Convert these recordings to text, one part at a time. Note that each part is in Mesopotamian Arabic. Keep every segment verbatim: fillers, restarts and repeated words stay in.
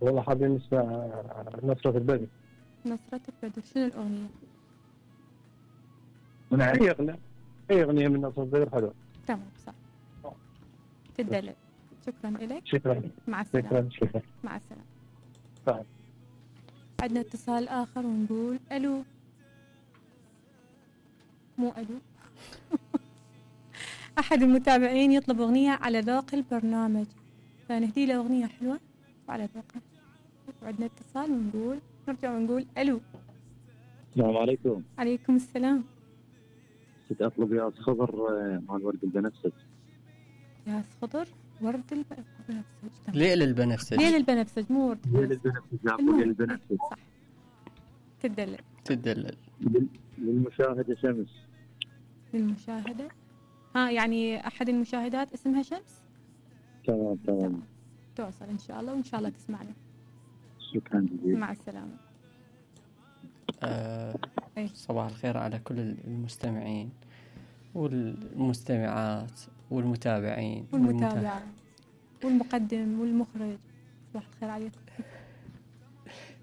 والله حابين نسمع نصرة البدر. نصرة البدر، شنو الأغنية؟ من أي أغنية؟ أي أغنية من نصرة البدر حلوة. تمام صح. تدلل. شكرا لك. شكرا. مع السلامة. شكرا شكرا. مع السلامة. طيب. عندنا اتصال آخر ونقول ألو. مو ألو. أحد المتابعين يطلب أغنية على ذوق البرنامج، فنهدي له أغنية حلوة وعلى ذوقه. وعندنا اتصال ونقول نرجع ونقول ألو. السلام عليكم. عليكم السلام. كنت أطلب ياس خضر مع الورد البنفسج. ياس خضر ورد البنفسج. ليل البنفسج. ليل البنفسج مو ورد. ليل البنفسج. لا ليل البنفسج. صح. تدلل. تدلل. للمشاهدة شمس. للمشاهدة. ها يعني أحد المشاهدات اسمها شمس. تمام تمام. توصل إن شاء الله وإن شاء الله تسمعنا. شكرا جزيلا. مع السلامة. آه صباح الخير على كل المستمعين والمستمعات والمتابعين والمتابعين والمقدم والمخرج. صباح الخير عليكم.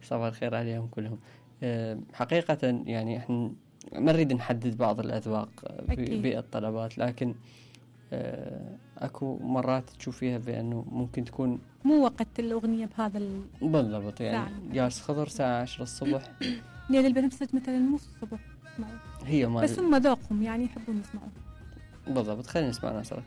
صباح الخير عليهم كلهم. آه حقيقة يعني احنا ما نريد نحدد بعض الأذواق بالطلبات، لكن آه اكو مرات تشوفيها بأنه ممكن تكون مو وقت الأغنية بهذا ال... بالضبط يعني ياس خضر الساعة عشرة الصبح. ليل البنفسج مثلا مو الصبح. هي ما بس هم ذوقهم يعني يحبون يسمعون. بالضبط. خلينا نسمع نصرة.